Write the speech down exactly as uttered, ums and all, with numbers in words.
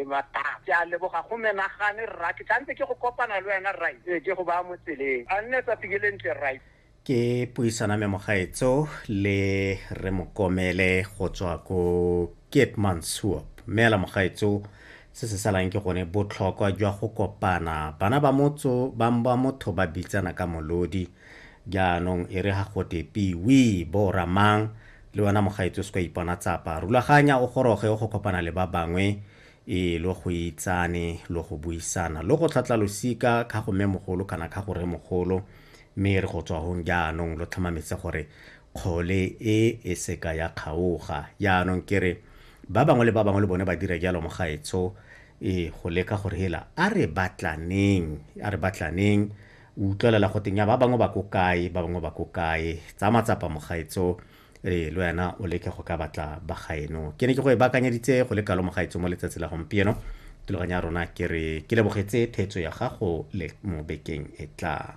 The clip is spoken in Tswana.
e matata. Ke a leboga go menagane rra, ke tshwanetse ke go kopana le wena rra, ee ke go baya mo tseleng. A nne tsatsi ke le ntle rra. Ke puisana me mogaetso le re Mokomele go tswa ko Keetmanshoop. Mme la mogaetso se se salang ke gone botlhokwa jwa go kopana. Bana ba motso ba ba motho ba bitsana ka molodi. Jaanong e re ga gote piwi bo ramang le wena mogaetso se ka ipona tsapa. Rulaganya o goroge o go kopana le ba bangwe e lo go itsane lo go buisana lo go tlhatla losika ka go mme mogolo kana ka go re mogolo, mme re go tswa hong jaanong lo tlhomametse gore kgole e e seka ya kgaoga. Jaanong ke re ba bangwe le ba bangwe le bone ba dira jalo mogaetsho, e go leka gore hela a re batlaneng, a re batlaneng. O utlwelela go teng ya ba bangwe ba ko kae, ba bangwe ba ko kae. Tsa matsapa mogaetsho, e le wena o leke go ka batla ba gaeno. Ke ne ke go e baakanyeditse go le kalo mogaetsho mo letsatsi la gompieno. Thulaganyo ya rona ke re ke lebogetse theetso ya gago le mo bekeng e tlang.